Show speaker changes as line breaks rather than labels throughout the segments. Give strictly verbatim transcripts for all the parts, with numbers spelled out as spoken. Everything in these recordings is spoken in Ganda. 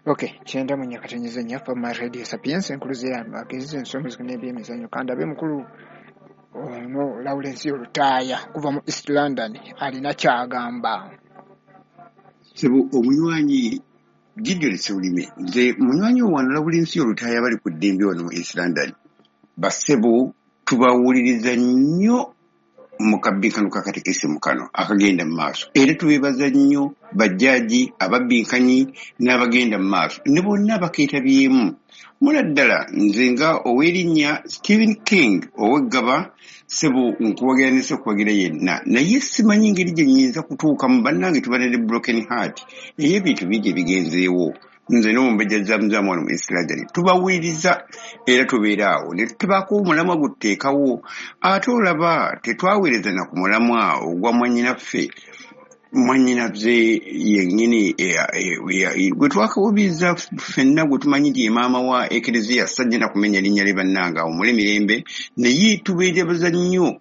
Okay, kyenda mu nyakatonyiza nnyaffe mu Radio Sapiens enkuluze y'amagezi ensonga n'ebyemizannyo. Kandabe mukulu ono Lawrence Lutaaya kuva mu East London alina ky'agamba.
Sebo omunywanyi Gideon Ssebulime, nze munywanyi wano Lawrence Lutaaya bali ku ddembe wano mu East London. Bassebo tubawuliriza nnyo mu kabbinkano ka katekisimu kano akagenda mu maaso, era tubeebaza nnyo bajjaaji ababbinkanyi n'abagenda mu maaso ne bonna abakeetabyemu. Muna ddala nze nga ow'erinnya Stephen King ow'eggaba, ssebo nkuwagira ne sekuwagira yenna, naye simanyi ngeri gye nnyinza kutuukamu. Bannange tuba ne broken heart ey'ebintu bingi ebigenzeewo. Nze n'omumbejja Zamuzaamu wano mu East London tubawuliriza era tubeera awo ne tubaako omulamwa gututeekawo. Ate olaba tetwaweereza na ku mulamwa ogwa mwannyinaffe mwannyinaffe yennyini gwe twakawubiriza ffenna gwe tumanyi nti ye maama wa Ekereziya, sajja na kumenya linnya lye bannange awo mule mirembe. Naye tubeebaza nnyo,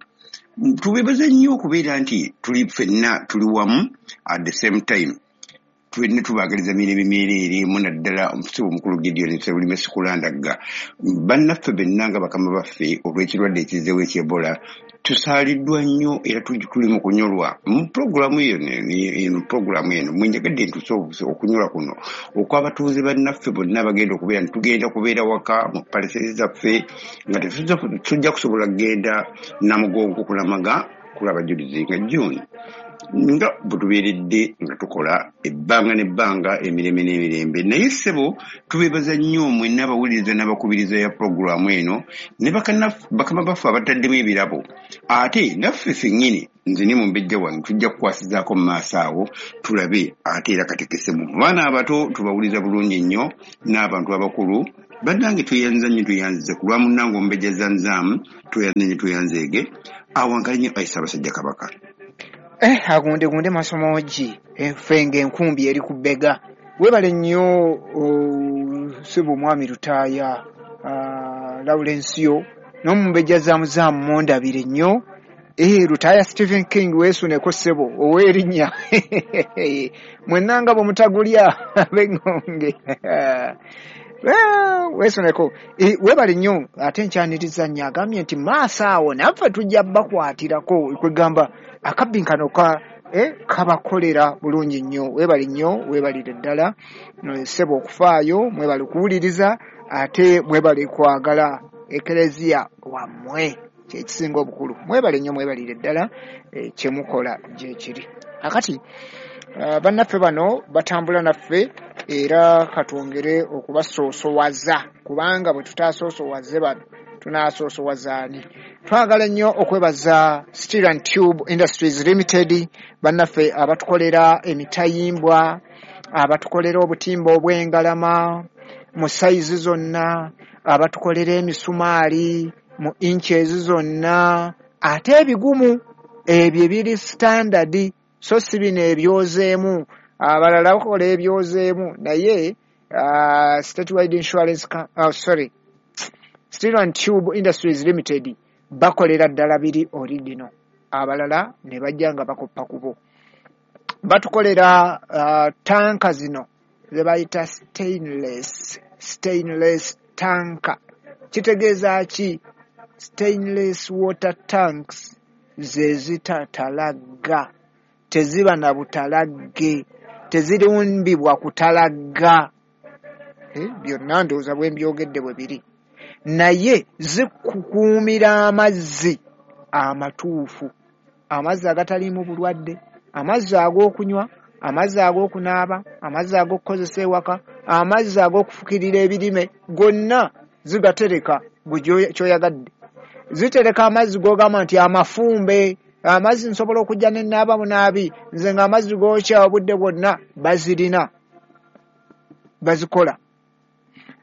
tubeebaza nnyo okubeera nti tuli ffenna tuli wamu at the same time. Twenna tubaagaliza mirembe myereere. Muna ddala omusibe omukulu Gideon Ssebulime sikulandagga bannaffe benna nga bakama baffe olw'ekirwadde ekizzeewo eky'Ebola tusaaliddwa nnyo era tuli mu kunyolwa mu pulogulaamu eno. Pulogulaamu eno mwenjagadde ntuuse okunyolwa kuno okw'abatuuze bannaffe bonna abagenda okubeera nti tugenda kubeera waka mu palisezi zaffe nga tetujja kusobola kugenda Namugongo kulamaga kulaba Julizi nga June nga bwe tubeeredde nga tukola ebbanga n'ebbanga emirembe n'emirembe. Naye ssebo tubeebaza nnyo mwenna abawuliriza n'abakubiriza ya pulogulaamu eno ne bakama baffe abataddemu ebirabo. Ate naffe ffennyini nze ne mumbejja wange tujja kukwasizaako mu maaso awo tulabe ate era katekesemu. Baana abato tubawuliza bulungi nnyo n'abantu abakulu. Bannange tweyanza nnyo, tweyanzize ku lwa munnange omumbejja Zamuzaamu, tweyanze nnyo, tweyanzeege. Awankali nnyo ayi Ssaabasajja Kabaka.
Eh, agunde gunde masomogi ffe ng'enkumbi eri ku bbega. Weebale nnyo ssebo mwami Lutaaya Lawrence n'omumbejja Zamuzaamu mundabire nnyo. Eh, Lutaaya Stephen King weesuneko ssebo ow'erinnya mwenna nga bwe mutagulya ab'eŋŋonge weesuneko. Weebale nnyo ate nkyaniriza nnyo agambye nti maaso awo naffe tujja bakwatirako kwegamba akabbinkano ka eh, kabakolera bulungi nnyo. Weebale nnyo, weebalire ddala ssebo okufaayo, mwebale okuwuliriza ate mwebale kwagala Ekereziya wammwe kyekisinga obukulu. Mwebale nnyo, mwebalire ddala eh, kyemukola gyekiri. Akati uh, bannaffe bano batambula naffe era katwongere okubasoosowaza kubanga bwe tutaasoosowaze bano tunasoosowazaani. Twagala nnyo okwebaza Steel and Tube Industries Limited bannaffe abatukolera emitayimbwa, abatukolera obutimba obw'engalama mu sayizi zonna, abatukolera emisumaali mu inches zonna, ate ebigumu ebyo ebiri standard so si bino ebyozeemu. Abalala bakola ebyozeemu naye uh, Statewide Insurance uh, sorry Steel and Tube Industries Limited bakolera ddala biri original, abalala ne bajja nga bakoppa kubo. Batukolera uh, tanka zino ze bayita stainless, stainless tanka. Kitegeeza ki? Stainless water tanks ze zitatalagga, teziba na butalagge, tezirumbibwa kutalagga. Eh, byonna ndowooza bwe mbyogedde bwe biri, naye zikukuumira amazzi amatuufu, amazzi agataliimu bulwadde, amazzi ag'okunywa, amazzi ag'okunaaba, amazzi ag'okukozesa ewaka, amazzi ag'okufukirira ebirime, gonna zigatereka gwe ky'oyagadde. Zitereka amazzi g'ogamba nti amafumbe, amazzi nsobola okujja ne naaba munaabi, nze ng'amazzi gookya obudde bwonna, bazirina bazikola.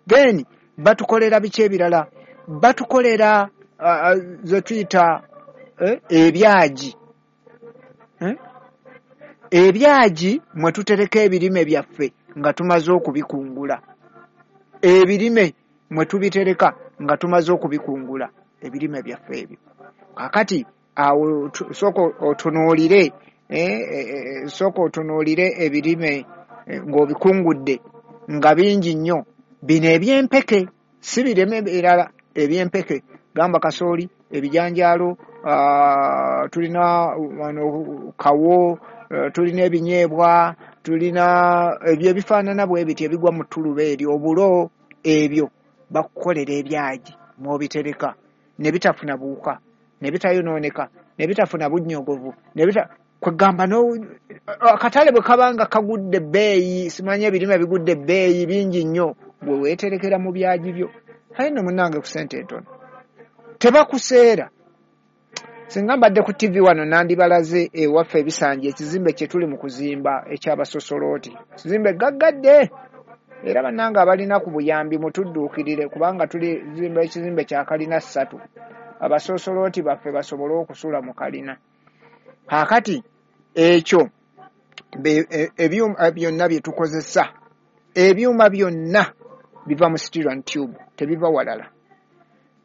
Then batukolera biki ebirala? Batukolera uh, ze tuyita eh, ebyagi eh? Ebyagi mwe tutereka ebirime byaffe nga tumaze okubikungula, ebirime mwe tubitereka nga tumaze okubikungula ebirime byaffe ebyo. Kaakati awo sooka otunuulire eh, eh, sooka otunuulire ebirime ng'obikungudde nga bingi nnyo. Bino ebyempeke si bireme birala, ebyempeke gamba kasooli, ebijanjaalo, tulina wano kawo, tulina ebinyeebwa, tulina ebyo ebifaanana bwe biti ebigwa mu ttuluba eryo, obulo, ebyo bakukolera ebyagi mw'obitereka ne bitafuna buwuka, ne bitayonooneka, ne bitafuna bunnyogovu, ne bita kwegamba akatale bwe kabanga kagudde ebbeeyi, simanyi ebirime bigudde ebbeeyi bingi nnyo, gwe weeterekera mu byagi byo. Aye nno munnange ku ssente entono tebakuseera. Singa mbadde ku T V wano nandibalaze ewaffe ebisanja ekizimbe kye tuli mu kuzimba eky'abasosolooti, kizimbe gaggadde, era bannange abalina ku buyambi mutudduukirire kubanga tuli zimba ekizimbe kya kalina ssatu, abasosolooti baffe basobole okusula mu kalina. Kaakati ekyo ebyuma byonna bye tukozesa, ebyuma byonna biva mu steel and tube, tebiva walala.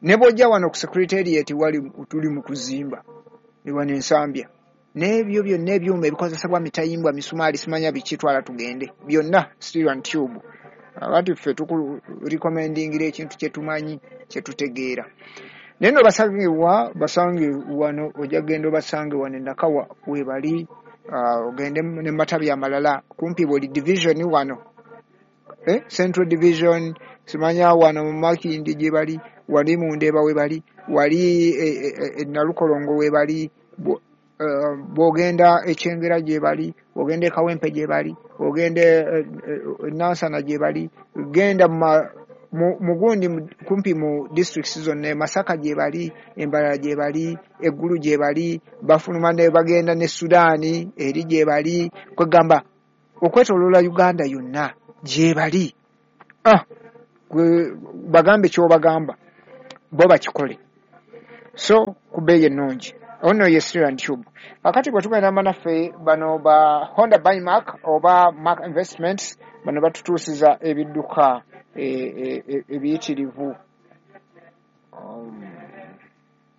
Ne bw'ojja wano ku secretariat wali tuli mu kuzimba wano Ensambya, n'ebyo byonna ebyuma ebikozesebwa mitayimbwa, misumaali, simanya biki, twala tugende, byonna steel and tube. Akati ffe tukurecommendingira ekintu kye tumanyi, kye tutegeera. Naye nno basangibwa, basange wano, ojja kugenda obasange wano e Nakawa we bali, ogende ne matabi amalala kumpi buli division wano, eh, Central Division, simanya wano mu Makindye gye bali, wali mu Ndeeba we bali, wali e Nalukolongo we bali, bw'ogenda e Kyengera gye bali, bw'ogenda e Kawempe gye bali, bw'ogenda e Nansana gye bali, genda mu gundi kumpi mu districts zonna, e Masaka gye bali, Embalala gye bali, Eggulu gye bali, bafuluma ne bagenda ne Sudaani eri gye bali, kwegamba okwetooloola Uganda yonna gye bali. Ah, bagambe ky'obagamba bo bakikole, so ku bbeeyi ennungi. Ono ye Steel and Tube. Kakati bwe tugenda bannaffe bano ba Honda by Mark oba Mark Investments, bano batutuusiza ebidduka ebiyitirivu. Um,